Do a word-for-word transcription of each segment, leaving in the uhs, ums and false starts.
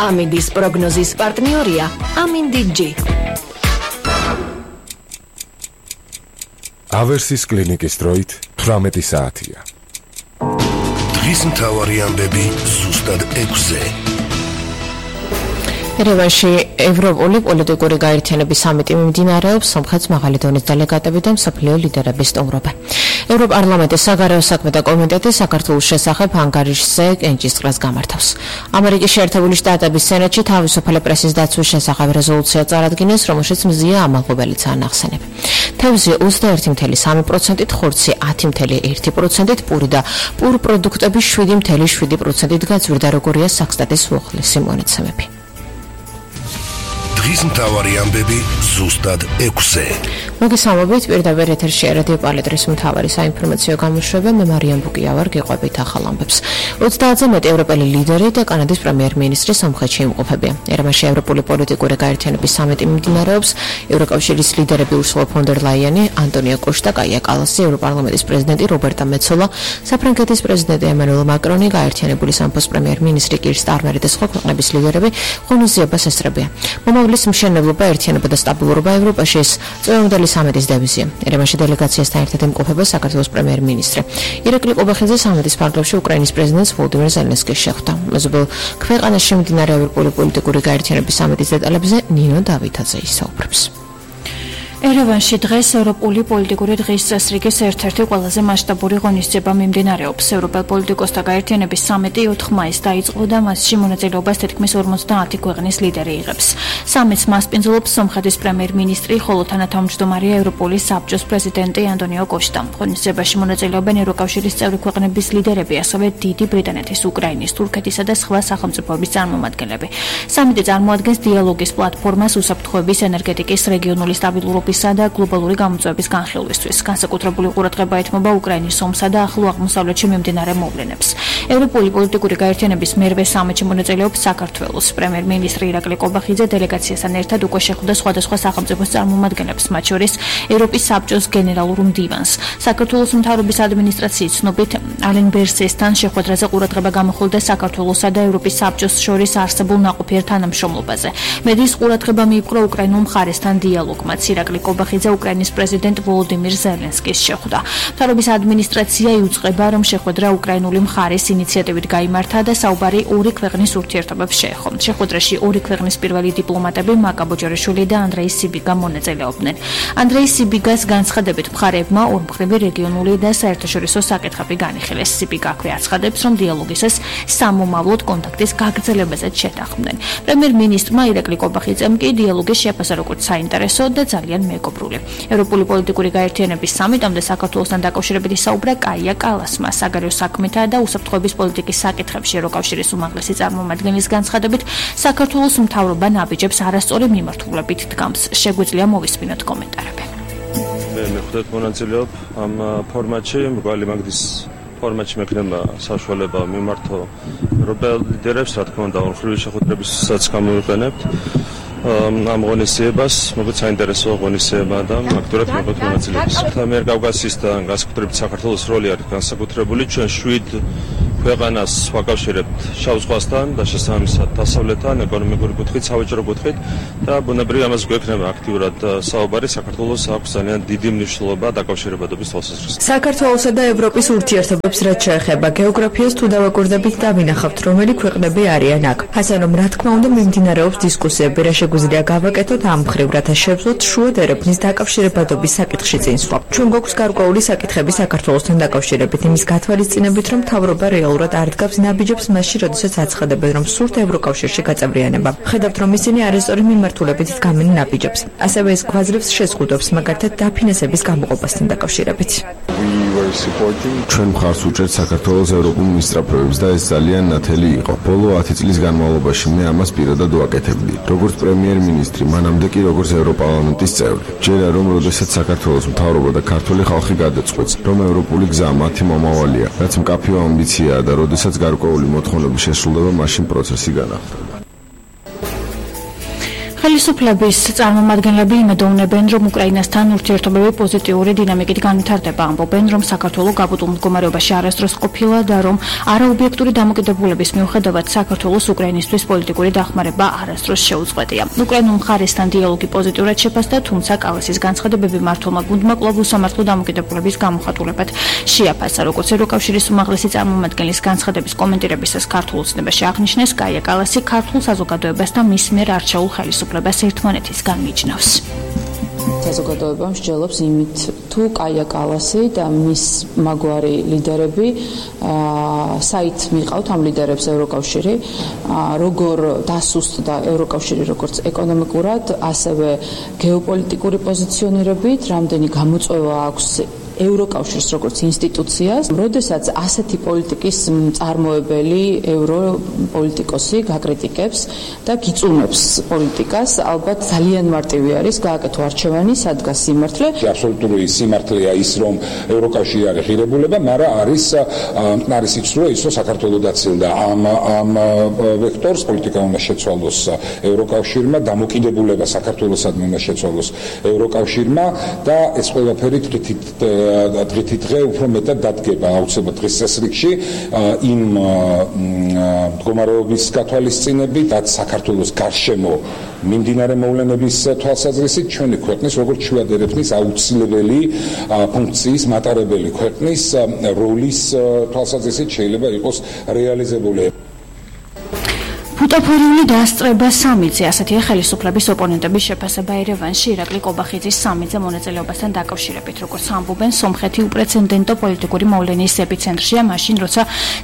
ამინდის პროგნოზის პარტნიორია ამინდი ჯი. ავერსის კლინიკის დროით თვრამეტი საათია. დღის მთავარი ამბები ზუსტად ექვსზე. ერევანში ევროპული პოლიტიკური გაერთიანების სამიტი მიმდინარეობს, სომხეთს მაღალი დონის დელეგატები და მსოფლიო ლიდერები სტუმრობენ. ევროპარლამენტის საგარეო საქმეთა კომიტეტი საქართველოს შესახებ ანგარიშზე კენჭისყრას გამართავს. ამერიკის შეერთებული შტატების სენატში თავისუფალი პრესის დაცვის შესახებ რეზოლუცია წარადგინეს, რომელშიც მზია ამალღობელიცაა ნახსენები. თევზი ოცდაერთი целых სამი პროცენტით, ხორცი ათი целых ერთი პროცენტით, პური და პურ პროდუქტები შვიდი целых შვიდი პროცენტით გაწვირდა, როგორია საქსტატის უახლესი მონაცემები. დღის მთავარი ამბები ზუსტად ექვსზე. მოგესალმებით, პირდაპირ ეთერში რადიო პალეტრის მთავარი საინფორმაციო გამოშვება, მე მარიამ ბუკია ვარ, გიყვებით ახალ ამბებს. ოცდაათზე მეტი ევროპელი ლიდერი და კანადის პრემიერ-მინისტრი სომხეთში იმყოფებიან. ერევანში ევროპული პოლიტიკური გაერთიანების სამიტი მიმდინარეობს. ევროკავშირის ლიდერები ურსულა ფონ დერ ლაიანი, ანტონიო კოშტა, კაია კალასი, ევროპარლამენტის პრეზიდენტი რობერტა მეცოლა, საფრანგეთის პრეზიდენტი ემანუელ მაკრონი, გაერთიანებული სამეფოს პრემიერ-მინისტრი კիր სტარმერი და სხვა ქვეყნების ლიდერები ღონისძიებას ესწრებიან. მომავლის მშენებლობა, ერთიანობა და სტაბილურობა ევროპაში ეს წვეუნდელი სამიტის დევიზია. ერევანში დელეგაციასთან ერთად იმყოფება საქართველოს პრემიერ-მინისტრი. ირაკლი ყობახიძე სამიტის ფარგლებში უკრაინის პრეზიდენტს ვოლოდიმირ ზელენსკის შეხვდა. მეზობელ ქვეყანაში მიმდინარე ევროპული პოლიტიკური გაერთიანების სამიტის დეტალებზე ნინო დავითაძე ისაუბრებს. ერევანში დღეს ევროპული პოლიტიკური დღის წესრიგის ერთ-ერთი ყველაზე მასშტაბური ღონისძიება მიმდინარეობს. ევროპელ პოლიტიკოსთა გაერთიანების სამიტი ოთხ მაისს დაიწყო და მასში მონაწილეობას თითქმის ორმოცდაათი ქვეყნის ლიდერი იღებს. სამიტს მასპინძლობს სომხეთის პრემიერ-მინისტრი, ხოლო თანათავმჯდომარეა ევროპული საბჭოს პრეზიდენტი ანტონიო კოშტა. ღონისძიებაში მონაწილეობენ ევროკავშირის წევრი ქვეყნების ლიდერები, ასევე დიდი ბრიტანეთის, უკრაინის, თურქეთისა და სხვა სახელმწიფოების წარმომადგენლები. სამიტი წარმოადგენს დიალოგის პლატფორმას უსაფრთხოების, ენერგეტიკის, რეგიონული სტაბილურობის და გლობალური გამოწვევების განხილვისთვის. განსაკუთრებული ყურადღება ეთმობა უკრაინის ომსა და ახლო აღმოსავლეთში მიმდინარე მოვლენებს. ევროპული პოლიტიკური გაერთიანების მერვე სამიტში მონაწილეობს საქართველოს პრემიერ-მინისტრი ირაკლი ყობახიძე. დელეგაციასთან ერთად უკვე შეხვდა სხვადასხვა სახელმწიფოს წარმომადგენლებს, მათ შორის ევროპის საბჭოს გენერალურ მდივანს. საქართველოს მთავრობის ადმინისტრაციის ცნობით ალენ ბერსესთან შეხვედრაზე ყურადღება გამოხვილდა საქართველოსა და ევროპის საბჭოს შორის არსებულ ნაყოფიერ თანამშრომლობაზე. მედიის ყურადღება მიიპყრო უკრაინულ მხარესთან დიალოგმა. ირაკლი ყობახიძე უკრაინის პრეზიდენტ ვოლოდიმირ ზელენსკის შეხვდა. მთავრობის ადმინისტრაცია იუწყება, რომ შეხვედრა უკრაინული მხარის ინიციატივით გაიმართა და საუბარი ორი ქვეყნის ურთიერთობებს შეეხო. შეხვედრაში ორი ქვეყნის პირველი დიპლომატები მაკა ბოჯორაშვილი და ანდრეი სიბიგა მონაწილეობდნენ. ანდრეი სიბიგას განცხადებით მხარეებმა ორმხრივი რეგიონული და საერთაშორისო საკითხები განიხილეს. სიბიგა აქვე აცხადებს, რომ დიალოგის ეს სამომავლოდ კონტაქტის გაგრძელებაზეც შეთანხმდნენ. პრემიერ-მინისტრმა ირაკლი ყობახიძემ კი დიალოგის შეფასა როგორც საინტერესო და ძალიან მეგობრული. ევროპული პოლიტიკური გაერთიანების სამიტამდე საქართველოსთან დაკავშირებით ისაუბრა კაია კალასმა. საგარეო საქმეთა და უსაფრთხოების პოლიტიკის საკითხებში ევროკავშირის უმაღლესი წარმომადგენლის განცხადებით, საქართველოს მთავრობა ნაბიჯებს არასწორი მიმართულებით დგამს. შეგვიძლია მოვისმინოთ კომენტარები. მე მეხუთედ მონაწილეობ ამ ფორმატში, მრგვალი მაგდის ფორმატში მექნება საშუალება მიმართო ევროპელ ლიდერებს, რა თქმა უნდა, ორმხრივი შეხვედრებისაც გამოვიყენებთ. ამ ღონისძიებას, მოგვიყვება საინტერესო ღონისძიება და აქტიურად მოგვიყვება მონაწილეობის. ამიერკავკასიის და განსაკუთრებით საქართველოს როლი არის განსაკუთრებული. ჩვენ შვიდ ქვეყანას ვაკავშირებთ შავ ზღვასთან და შესაბამისად დასავლეთთან, ეკონომიკური კუთხით, სავაჭრო კუთხით და ბუნებრივი ამას გვექნება აქტიურად საუბარი. საქართველოს აქვს ძალიან დიდი მნიშვნელობა დაკავშირებადობის თვალსაზრისით. საქართველოსა და ევროპის ურთიერთობებს რაც შეეხება გეოგრაფიას თუ დავაკურდებით და ვინახავთ, რომელი ქვეყნები არიან აქ. ასე რომ, რა თქმა უნდა, მიმდინარეობს დისკუსიები, რა შეგვიძლია გავაკეთოთ ამ მხრივ, რათა შევძლოთ შუა ერებნის დაკავშირებადობის საკითხში წინსვლა. ჩვენ გვაქვს გარკვეული საკითხები საქართველოსთან დაკავშირებით, იმის გათვალისწინებით, რომ მთავრობა რეალურად არ დგავს ნაბიჯებს მასში, როდესაც აცხადებენ, რომ სურთ ევროკავშირში გაწევრიანება. ხედავთ, რომ ისინი არასწორი მიმართულებით დგამენ ნაბიჯებს. ასევე ეს გვაძლევს შეზღუდვებს, მაგალითად დაფინანსების გამოყოფასთან დაკავშირებით. ჩვენ მხარს უჭერთ საქართველოს ევროპულ მისწრაფებებს და ეს ძალიან ნათელი იყო. ბოლო ათი წლის განმავლობაში მე ამას პირადად ვაკეთებდი. როგორც პრემიერ-მინისტრი, მანამდე კი როგორც ევროპარლამენტის წევრი. ჯერა რომ როდესაც საქართველოს მთავრობა და ქართული ხალხი გადაწყვეტს, რომ ევროპული გზა მათი მომავალია, რაც მკაფიო ამბიციაა და როდესაც გარკვეული მოთხოვნები შესრულდება, მაშინ პროცესი განახლდება. ხელისუფლების წარმომადგენლები იმედოვნებენ, რომ უკრაინასთან ურთიერთობები პოზიტიური დინამიკით განვითარდება, ამბობენ, რომ საქართველო გაბატონულ მდგომარეობაში არასდროს ყოფილა და რომ არაობიექტური დამოკიდებულების მიუხედავად საქართველოს უკრაინისთვის პოლიტიკური დახმარება არასდროს შეუწყვეტია. უკრაინულ მხარესთან დიალოგი პოზიტიურად შეფასდა, თუმცა კალასის განცხადებები მმართველმა გუნდმა კვლავ უსამართლო დამოკიდებულების გამოხატულებად შეაფასა. როგორც ევროკავშირის უმაღლესი წარმომადგენლის განცხადების კომენტირებისას ქართულ ოცნებაში აღნიშნეს, კაია კალასი ქართულ საზოგადოებას და მის მიერ არჩეულ ხელისუფლებას ერთმანეთისგან მიჯნავს. საზოგადოება მსჯელობს იმით, თუ კაია კალასი და მის მაგვარი ლიდერები საით მიყავთ ამ ლიდერებს ევროკავშირი, როგორ დასუსტდა ევროკავშირი როგორც ეკონომიკურად, ასევე გეოპოლიტიკური პოზიციონირებით, რამდენი გამოწვევა აქვს ევროკავშირს როგორც ინსტიტუციას, როდესაც ასეთი პოლიტიკის მწარმოებელი ევროპოლიტიკოსი გაკრიტიკებს და გიწუნებს პოლიტიკას, ალბათ ძალიან მარტივი არის გააკეთო არჩევანი, სადგას სიმართლე. აბსოლუტური სიმართლეა ის, რომ ევროკავშირი არის ღირებულება, მაგრამ არის არის ის, რომ ისო საქართველოს დაცილდა ამ ამ ვექტორს პოლიტიკა უნდა შეცვალოს ევროკავშირმა, დამოკიდებულება საქართველოსადმი უნდა შეცვალოს ევროკავშირმა და ეს ყველაფერი თვითით დღითი დღე უფრო მეტად დადგება აუცილებლად დღის წესრიგში იმ მდგომარეობის გათვალისწინებით, რაც საქართველოს გარშემო მიმდინარე მოვლენების თვალსაზრისით ჩვენი ქვეყნის როგორც შუადერეთის აუცილებელი ფუნქციის მატარებელი ქვეყნის როლის თვალსაზრისით შეიძლება იყოს რეალიზებული. ბუტაფორიული დაასწრება სამიძე, ასეთია ხელისუფლების ოპონენტების შეფასება ერევანში ირაკლი კობახიძის სამიძე მონაწილეობასთან დაკავშირებით. როგორც ამბობენ, სომხეთი უპრეცედენტო პოლიტიკური მოვლენის ეპიცენტრშია მაშინ, როცა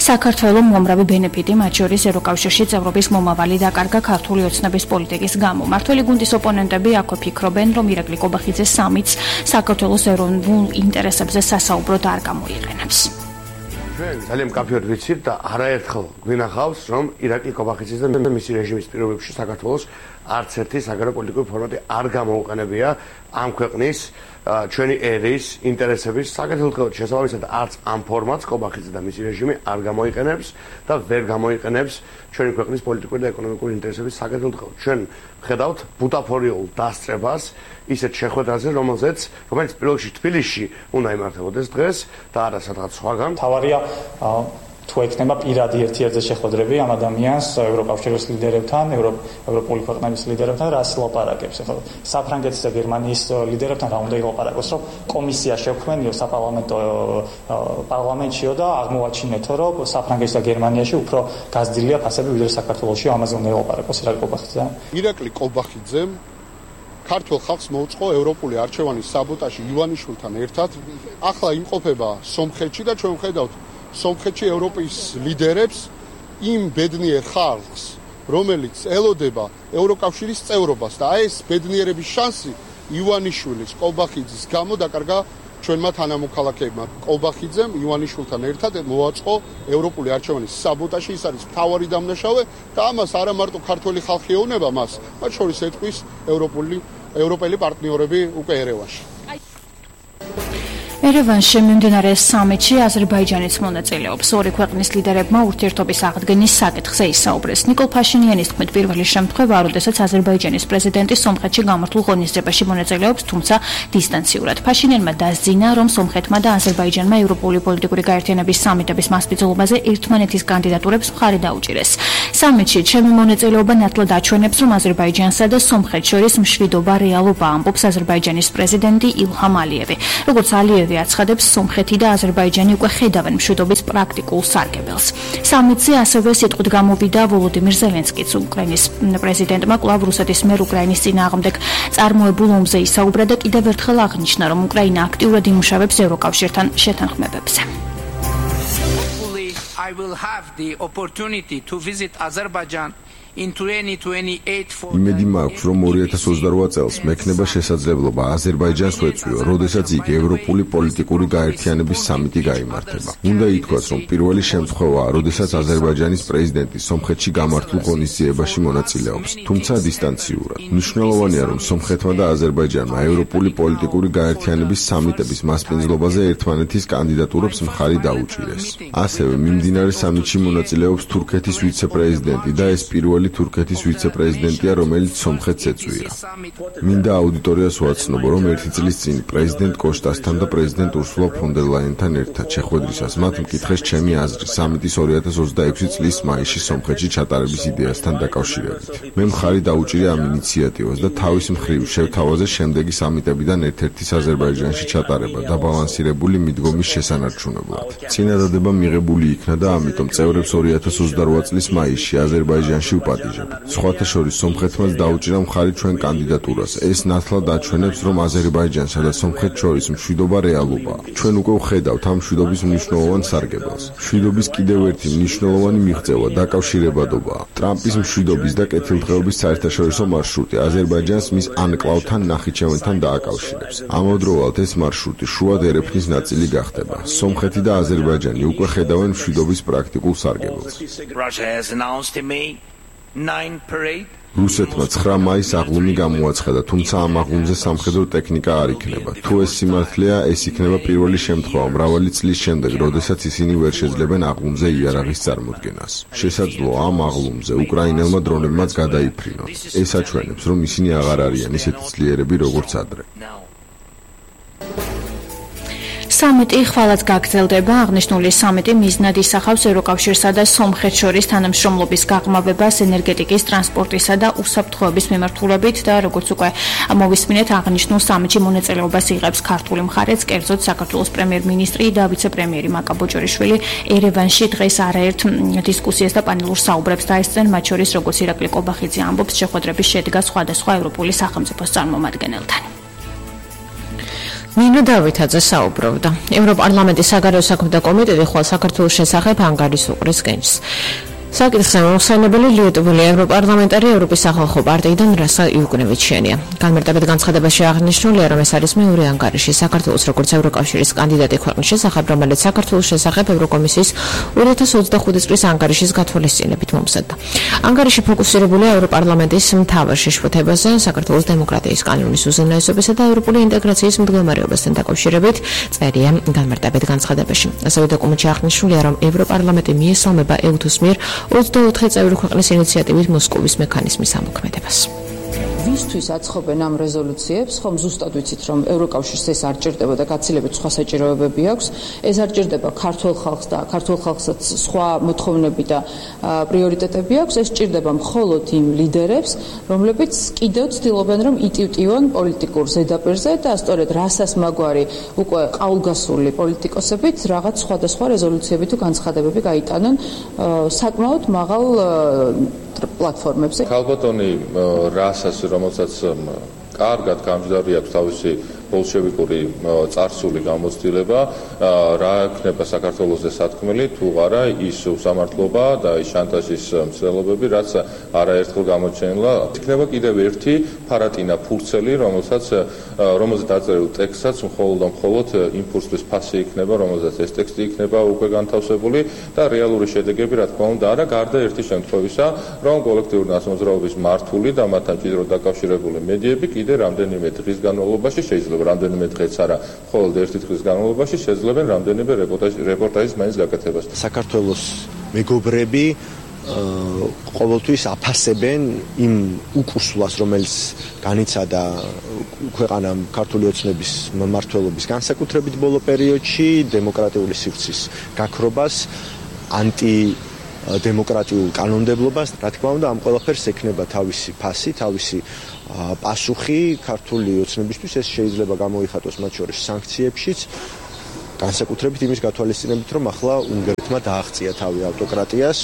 საქართველოს უამრავი ბენეფიტი, მათ შორის ევროკავშირში წევრობის მომავალი დაკარგა ქართული ოცნების პოლიტიკის გამო. მართველი გუნდის ოპონენტები აქვე ფიქრობენ, რომ ირაკლი კობახიძეს სამიც საქართველოს ეროვნულ ინტერესებზე სასაუბროდ არ გამოიყენებს. ჩვენ ძალიან მკაფიოდ ვიცით და არაერთხელ გვინახავს, რომ ირაკლი კობახიძის და მისი რეჟიმის პირობებში საქართველოს არც ერთი საგარეპოლიტიკური ფორმატი არ გამოუყენებია ამ ქვეყნის ჩვენი ერის ინტერესების საკეთილდღეოდ შესაბამისად არც ამ ფორმატს კობახიძე და მისი რეჟიმი არ გამოიყენებს და ვერ გამოიყენებს ჩვენი ქვეყნის პოლიტიკური და ეკონომიკური ინტერესების საკეთილდღეოდ. ჩვენ ვხედავთ ბუტაფორიულ დასწრებას ისეთ შეხვედრაზე, რომელზეც რომელიც პირველ რიგში თბილისში უნდა იმართებოდეს დღეს და არა სადღაც სხვაგან. თავარია თუ ექნება პირადი ერთ-ერთი შეხვედრები ამ ადამიანს ევროკავშირის ლიდერებთან, ევროპული ქვეყნების ლიდერებთან, რას ლაპარაკებს. ახლა საფრანგეთის და გერმანიის ლიდერებთან რა უნდა ილაპარაკოს, რომ კომისია შევქმნიო საპარლამენტო პარლამენტშიო და აღმოვაჩინეთო, რომ საფრანგეთის და გერმანიაში უფრო გაზრდილია ფასები ვიდრე საქართველოში, ამაზე უნდა ილაპარაკოს ირაკლი კობახიძე. ირაკლი კობახიძემ ქართულ ხალხს მოუწყო ევროპული არჩევანის საბოტაჟი ივანიშვილთან ერთად. ახლა იმყოფება სომხეთში და ჩვენ ვხედავთ სომხეთში ევროპის ლიდერებს იმ ბედნიერ ხალხს, რომელიც ელოდება ევროკავშირის წევრობას და ეს ბედნიერების შანსი ივანიშვილის, კობახიძის გამო დაკარგა ჩვენმა თანამოქალაქეებმა. კობახიძემ ივანიშვილთან ერთად მოაწყო ევროპული არჩევანის საბოტაჟი, ის არის მთავარი დამნაშავე და ამას არა მარტო ქართველი ხალხი ეუბნება მას, მათ შორის ეთქვის ევროპული ევროპელი პარტნიორები უკვე ერევანში. ერევანში მიმდინარე სამიტში აზერბაიჯანიც მონაწილეობს. ორი ქვეყნის ლიდერებმა ურთიერთობის აღდგენის საკითხზე ისაუბრეს. ნიკოლ ფაშინიანის თქმით, პირველი შემთხვევა, როდესაც აზერბაიჯანის პრეზიდენტი სომხეთში გამართულ ღონისძიებაში მონაწილეობს, თუმცა დისტანციურად. ფაშინიანმა დასძინა, რომ სომხეთმა და აზერბაიჯანმა ევროპული პოლიტიკური გაერთიანების სამიტების მასპინძლობაზე ერთმანეთის კანდიდატურებს მხარი დაუჭირეს. სამიტში ჩემი მონაწილეობა ნათლად აჩვენებს, რომ აზერბაიჯანსა და სომხეთს შორის მშვიდობა რეალობა, ამბობს აზერბაიჯანის პრეზიდენტი ილჰამ ალიევი. როგორც ალიევი აცხადებს, სომხეთი და აზერბაიჯანი უკვე ხედავენ მშვიდობის პრაქტიკულ სარგებელს. სამიტზე ასევე სიტყვით გამოვიდა ვოლოდიმირ ზელენსკიც. უკრაინის პრეზიდენტმა კვლავ რუსეთის მიერ უკრაინის წინააღმდეგ წარმოებულ ომზე ისაუბრა და კიდევ ერთხელ აღნიშნა, რომ უკრაინა აქტიურად იმუშავებს ევროკავშირთან შეთანხმებებზე. I will have the opportunity to visit Azerbaijan in twenty twenty-eight for იმედი მაქვს, რომ ორი ათას ოცდარვა წელს მექნება შესაძლებლობა აზერბაიჯანს ვეწვიო, როდესაც იქ ევროპული პოლიტიკური გაერთიანების სამიტი გაიმართება. უნდა ითქვას, რომ პირველი შემთხვევაა, როდესაც აზერბაიჯანის პრეზიდენტი სომხეთში გამართულ ღონისძიებაში მონაწილეობს, თუმცა დისტანციურად. მნიშვნელოვანია, რომ სომხეთმა და აზერბაიჯანმა ევროპული პოლიტიკური გაერთიანების სამიტების მასპინძლობაზე ერთმანეთის კანდიდატურებს მხარი დაუჭირეს. ასევე მიმდინარე სამიტში მონაწილეობს თურქეთის ვიცე-პრეზიდენტი და ეს პირველი ახალი თურქეთის ვიცე-პრეზიდენტია, რომელიც სომხეთს ეწვია. მინდა აუდიტორიას ვაცნობო, რომ ერთი წლის წინ პრეზიდენტ კოშტასთან და პრეზიდენტ ურსულა ფონ დერ ლაიენთან ერთად შეხვედრისას მათ მკითხეს ჩემი აზრი სამიტის ორი ათას ოცდაექვსი წლის მაისში სომხეთში ჩატარების იდეასთან დაკავშირებით. მე მხარი დაუჭირე ამ ინიციატივას და თავის მხრივ შევთავაზე შემდეგი სამიტებიდან ერთ-ერთის აზერბაიჯანში ჩატარება დაბალანსირებული მიდგომის შესანარჩუნებლად. წინადადება მიღებული იქნა და ამიტომ წევრებს ორი ათას ოცდარვა წლის მაისში აზერბაიჯანში ვპატიჟებ. სხვათა შორის სომხეთმაც დაუჭირა მხარი ჩვენ კანდიდატურას. ეს ნათლად აჩვენებს, რომ აზერბაიჯანსა და სომხეთს შორის მშვიდობა რეალობაა. ჩვენ უკვე ვხედავთ ამ მშვიდობის მნიშვნელოვან სარგებელს. მშვიდობის კიდევ ერთი მნიშვნელოვანი მიღწევა დაკავშირებადობაა. ტრამპის მშვიდობის და კეთილდღეობის საერთაშორისო მარშრუტი აზერბაიჯანს მის ანკლავთან ნახიჩევანთან დააკავშირებს. ამავდროულად ეს მარშრუტი შუად ერეფნის ნაწილი გახდება. სომხეთი და აზერბაიჯანი უკვე ხედავენ მშვიდობის პრაქტიკულ სარგებელს. რუსეთმა ცხრა მაისს აღლუმი გამოაცხადა, თუმცა ამ აღლუმზე სამხედრო ტექნიკა არ იქნება. თუ ეს სიმართლეა, ეს იქნება პირველი შემთხვევა მრავალი წლის შემდეგ, როდესაც ისინი ვერ შეძლებენ აღლუმზე იარაღის წარმოდგენას. შესაძლოა ამ აღლუმზე უკრაინელმა დრონებმაც გადაიფრინონ. ეს აჩვენებს, რომ ისინი აღარ არიან ისეთი ძლიერები, როგორც ადრე. სამიტი ხვალაც გაგრძელდება. აღნიშნული სამიტი მიზნად ისახავს ევროკავშირსა და სომხეთს შორის თანამშრომლობის გაღრმავებას ენერგეტიკის, ტრანსპორტისა და უსაფრთხოების მიმართულებით და როგორც უკვე მოვისმინეთ, აღნიშნულ სამიტში მონაწილეობას იღებს ქართული მხარეც, კერძოდ საქართველოს პრემიერ-მინისტრი და ვიცე-პრემიერი მაკა ბოჭორიშვილი ერევანში დღეს არაერთ დისკუსიას და პანელურ საუბრებს დაესწრნენ, მათ შორის როგორც ირაკლი კობახიძე ამბობს, შეხვედრების შედგა სხვადასხვა ევროპული სახელმწიფოს წარმომადგენელთან. ნინო დავითაძე საუბრობდა. ევროპარლამენტის საგარეო საქმეთა კომიტეტი ხვალ საქართველოს შესახებ ანგარის უყრის გენს. საკითხზე მოხსენებელი ლიეტუველი ევროპარლამენტარი ევროპის სახალხო პარტიიდან რასა იუკნევიჩიანია. განმარტებით განცხადებაში აღნიშნულია, რომ ეს არის მეორე ანგარიში საქართველოს როგორც ევროკავშირის კანდიდატი ქვეყნის შესახებ, რომელიც საქართველოს შესახებ ევროკომისიის ორი ათას ოცდახუთი წლის ანგარიშის გათვალისწინებით მომზადდა. ანგარიში ფოკუსირებულია ევროპარლამენტის მთავარ შეშფოთებაზე, საქართველოს დემოკრატიის კანონის უზენაესობისა და ევროპული ინტეგრაციის მდგომარეობასთან დაკავშირებით, წერია განმარტებით განცხადებაში. ასევე დოკუმენტში აღნიშნულია, რომ ევროპარლამენტი მიესალმება ევთუს მიერ ოცდაოთხი წევრი ქვეყნის ინიციატივით მოსკოვის მექანიზმის ამოქმედებას. ვისთვის აცხობენ ამ რეზოლუციებს, ხომ ზუსტად ვიცით, რომ ევროკავშირს ეს არ ჭირდება და გაცილებით სხვა საჭიროებები აქვს. ეს არ ჭირდება ქართულ ხალხს და ქართულ ხალხსაც სხვა მოთხოვნები და პრიორიტეტები აქვს. ეს ჭირდება მხოლოდ იმ ლიდერებს, რომლებიც კიდევ ცდილობენ, რომ იტივტივონ პოლიტიკურ ზედაპირზე და სწორედ რასას მაგვარი უკვე ყაულგასული პოლიტიკოსებით რაღაც სხვადასხვა რეზოლუციები თუ განცხადებები გაიტანონ საკმაოდ მაღალ პლატფორმებზე. ქალბატონი რასას, რომელსაც კარგად გამჯდარი აქვს თავისი ბოლშევიკური წარსული გამოცდილება, რა ექნება საქართველოსზე სათქმელი, თუ არა ის უსამართლობა და ის შანტაჟის მცდელობები, რაც არაერთხელ გამოჩენილა. იქნება კიდევ ერთი ფარატინა ფურცელი, რომელსაც რომელზეც დაწერილ ტექსტსაც მხოლოდ და მხოლოდ იმპულსის ფასი იქნება, რომელზეც ეს ტექსტი იქნება უკვე განთავსებული და რეალური შედეგები, რა თქმა უნდა, არა, გარდა ერთი შემთხვევისა, რომ კოლექტიური ნაცნობრაობის მართული და მათთან ჭიდროდ დაკავშირებული მედიები კიდე რამდენიმე დღის განმავლობაში შეიძლება რამდენიმე დღეც არა, მხოლოდ ერთი დღის განმავლობაში შეძლებენ რამდენიმე რეპორტაჟის მაინც გაკეთებას. საქართველოს მეგობრები ყოველთვის აფასებენ იმ უკუსლას, რომელიც განიცადა ქვეყანამ ქართული ოცნების მმართველობის განსაკუთრებით ბოლო პერიოდში, დემოკრატიული სივრცის გაქრობას, ანტი დემოკრატიულ კანონმდებლობას. რა თქმა უნდა, ამ ყველაფერს ექნება თავისი ფასი, თავისი პასუხი ქართული ოცნებისთვის. ეს შეიძლება გამოიხატოს მათ შორის სანქციებშიც, განსაკუთრებით იმის გათვალისწინებით, რომ ახლა უნგრეთმა დააღწია თავი ავტოკრატიას.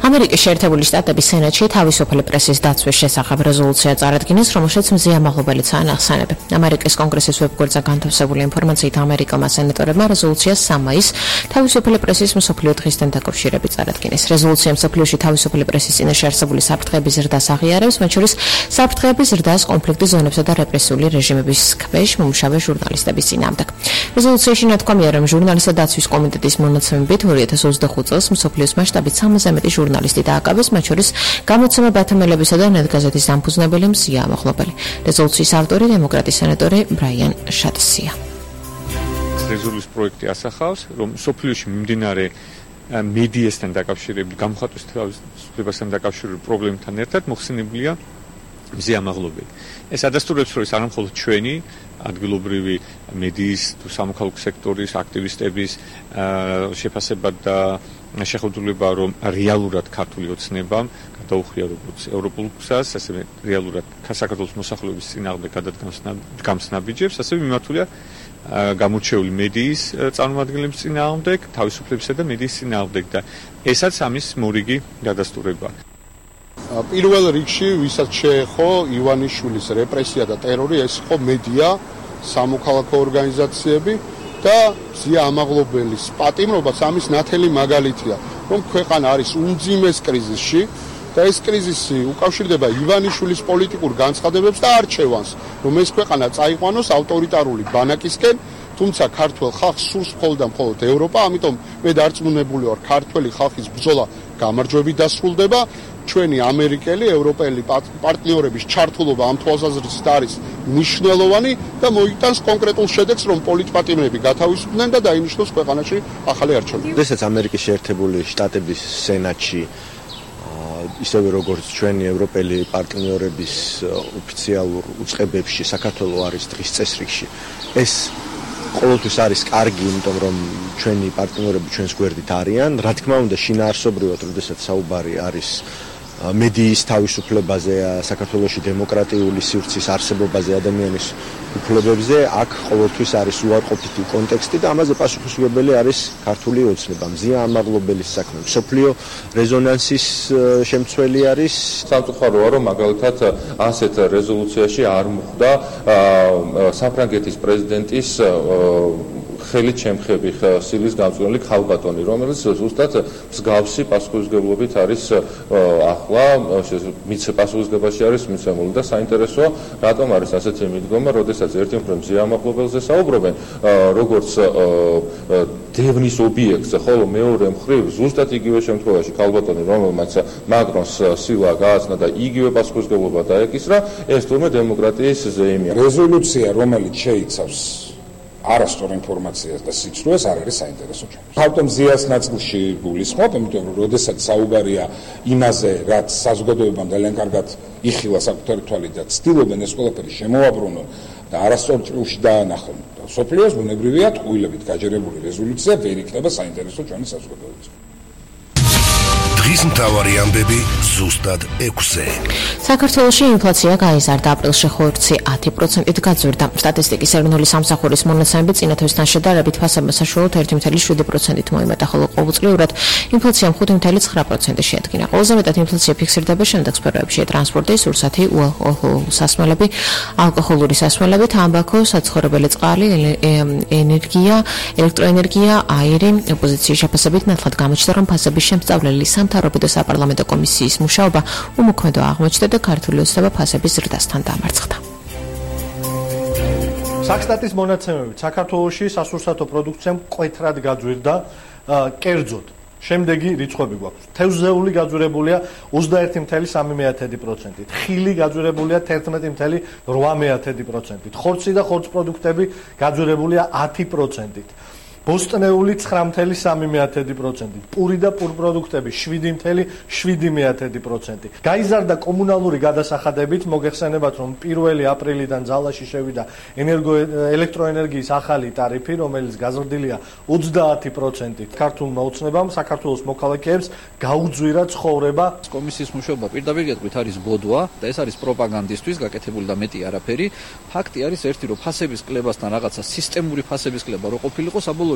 ამერიკის შეერთებული შტატების სენატში თავისუფალი პრესის დაცვის შესახებ რეზოლუცია წარადგინეს, რომელშიც მზია მაღლობელიცაა ნახსენები. ამერიკის კონგრესის ვებგვერდზე განთავსებული ინფორმაციით ამერიკელმა სენატორებმა რეზოლუცია სამ მაისს თავისუფალი პრესის მსოფლიო დღისთან დაკავშირებით წარადგინეს. რეზოლუცია მსოფლიოში თავისუფალი პრესის წინაშე არსებული საფრთხეების ზრდას აღიარებს, მათ შორის საფრთხეების ზრდას კონფლიქტის ზონებსა და რეპრესიული რეჟიმების ქვეშ მომუშავე ჟურნალისტების წინააღმდეგ. რეზოლუციაში ნათქვამია, რომ ჟურნალისტთა დაცვის კომიტეტის მონაცემებით ორი ათას ოცდახუთ წელს მსოფლიოს მასშტაბით სამზე მეტი ჟურნალისტი დააკავეს, მათ შორის გამოცემა ბათამელებისა და ნეტგაზეთის დამფუძნებელი მზია ამაღლობელი. რეზოლუციის ავტორი დემოკრატი სენატორი ბრაიან შატსია. რეზოლუციის პროექტი ასახავს, რომ მსოფლიოში მიმდინარე მედიასთან დაკავშირებული, გამოხატვის თავისუფლებასთან დაკავშირებული პრობლემებთან ერთად მოხსენებულია მზე ამაღლობელი. ეს ადასტურებს, რომ ეს არა მხოლოდ ჩვენი ადგილობრივი მედიის თუ სამოქალაქო სექტორის აქტივისტების შეფასება და შეხვედრილება, რომ რეალურად ქართული ოცნებამ გადაუხია როგორც ევროპულ გზას, ასევე რეალურად საქართველოს მოსახლეობის წინააღმდეგ გადადგამს ნაბიჯებს, ასევე მიმართულია გამორჩეული მედიის წარმომადგენლების წინააღმდეგ, თავისუფლებისა და მედიის წინააღმდეგ და ესაც ამის მორიგი გადასტურება. პირველ რიგში, ვისაც შეეხო ივანიშვილის რეპრესია და ტერორი, ეს იყო მედია, სამოქალაქო ორგანიზაციები და მზია ამაღლობელის პატიმრობაც ამის ნათელი მაგალითია, რომ ქვეყანა არის უმძიმეს კრიზისში და ეს კრიზისი უკავშირდება ივანიშვილის პოლიტიკურ განცხადებებს და არჩევანს, რომ ეს ქვეყანა წაიყვანოს ავტორიტარული ბანაკისკენ, თუმცა ქართველ ხალხს სურს მხოლოდ და მხოლოდ ევროპა, ამიტომ მე დარწმუნებული ვარ, ქართველი ხალხის ბრძოლა გამარჯვებით დასრულდება. ჩვენი ამერიკელი, ევროპელი პარტნიორების ჩართულობა ამ თვალსაზრისით არის მნიშვნელოვანი და მოიტანს კონკრეტულ შედეგს, რომ პოლიტპატიმრები გათავისუფლდნენ და დაინიშნოს ქვეყანაში ახალი არჩევნები. როდესაც ამერიკის შეერთებული შტატების სენატში ისევე როგორც ჩვენი ევროპელი პარტნიორების ოფიციალურ უწყებებში საქართველოს არის დღის წესრიგში, ეს ყოველთვის არის კარგი, იმიტომ რომ ჩვენი პარტნიორები ჩვენს გვერდით არიან. რა თქმა უნდა, შინაარსობრივად, როდესაც საუბარი არის მედიის თავისუფლებაზე, საქართველოში დემოკრატიული სივრცის არსებობაზე, ადამიანის უფლებებზე, აქ ყოველთვის არის უარყოფითი კონტექსტი და ამაზე პასუხისმგებელი არის ქართული ოცნება. მზია ამაღლობელის საქმე, მსოფლიო რეზონანსის შემცველი არის. სამწუხაროა, რომ მაგალითად ასეთ რეზოლუციაში არ მოხვდა საფრანგეთის პრეზიდენტის ხელით შემხები სილის გამწვანელი ქალბატონი, რომელიც ზუსტად მსგავსი პასუხისმგებლობით არის ახლა მის პასუხისმგებაში არის მიცემული და საინტერესოა, რატომ არის ასეთი მიდგომა, როდესაც ერთი მხრივ მზია ამაღლობელზე საუბრობენ, როგორც დევნის ობიექტზე, ხოლო მეორე მხრივ ზუსტად იგივე შემთხვევაში ქალბატონი, რომელმაც მაკრონს სილა გააცნა და იგივე პასუხისმგებლობა დაეკისრა, ეს თურმე დემოკრატიის ზეიმია. რეზოლუცია, რომელიც შეიცავს არასწორ ინფორმაციას და სიცრუეს არ არის საინტერესო ჩვენთვის. თავდაპირველად მზიას ნაწილში გულისხმობ, იმიტომ რომ როდესაც საუბარია იმაზე, რაც საზოგადოებამ ძალიან კარგად იხილა საკუთარი თვალით და ცდილობენ ეს ყველაფერი შემოაბრუნონ და არასწორ ჭრილში დაანახონ. სოფლიოს ბუნებრივია ტყუილებით გაჯერებული რეზოლუცია ვერ იქნება საინტერესო ჩვენი საზოგადოებისთვის. დღის მთავარი ამბები ზუსტად ექვსზე. საქართველოში ინფლაცია გაიზარდა, აპრილში ხორცი ათი პროცენტით გაძვირდა. სტატისტიკის ეროვნული სამსახურის მონაცემებით წინათვისთან შედარებით ფასება საშუალოდ ერთი წუთი შვიდი პროცენტით მოიმატა, ხოლო ყოველწლიურად ინფლაციამ ხუთი წუთი ცხრა პროცენტი შეადგინა. ყველაზე მეტად ინფლაცია ფიქსირდება შემდეგ სფეროებში: ტრანსპორტი, სურსათი, უალკოჰოლური სასმელები, ალკოჰოლური სასმელები, თამბაქო, საცხოვრებელი წყალი, ენერგია, ელექტროენერგია, აირი. ოპოზიციის შეფასებით ნათლად გამოჩნდა, რომ ფასების შემსწავლელი სამთავრობო და საპარლამენტო კომისიის მუშაობა უმოქმედო აღმოჩნდა და ქართული ოცნება ფასების ზრდასთან დამარცხდა. საქსტატის მონაცემებით საქართველოში სასურსათო პროდუქცია მკვეთრად გაძვირდა კერძოდ. შემდეგი რიცხვები გვაქვს. თევზეული გაძვირებულია ოცდაერთი წუთი სამი პროცენტით, ხილი გაძვირებულია თერთმეტი წუთი რვა პროცენტით, ხორცი და ხორცს პროდუქტები გაძვირებულია ათი პროცენტით. ბოსტნეული ცხრა წუთი სამი პროცენტით, პური და პურპროდუქტები შვიდი წუთი შვიდი პროცენტი. გაიზარდა კომუნალური გადასახადებით, მოგეხსენებათ, რომ პირველი აპრილიდან ძალაში შევიდა ენერგო ელექტროენერგიის ახალი ტარიფი, რომელიც გაზრდილია ოცდაათი პროცენტით. ქართულმა ოცნებამ საქართველოს მოქალაქეებს გაუძვირა ცხოვრება. კომისიის მუშაობა პირდაპირ გეტყვით არის ბოდვა და ეს არის პროპაგანდისტვის გაკეთებული და მეტი არაფერი. ფაქტი არის ერთი, რომ ფასების კლებასთან რაღაცა სისტემური ფასების კლება რო ყოფილიყო, საბოლოო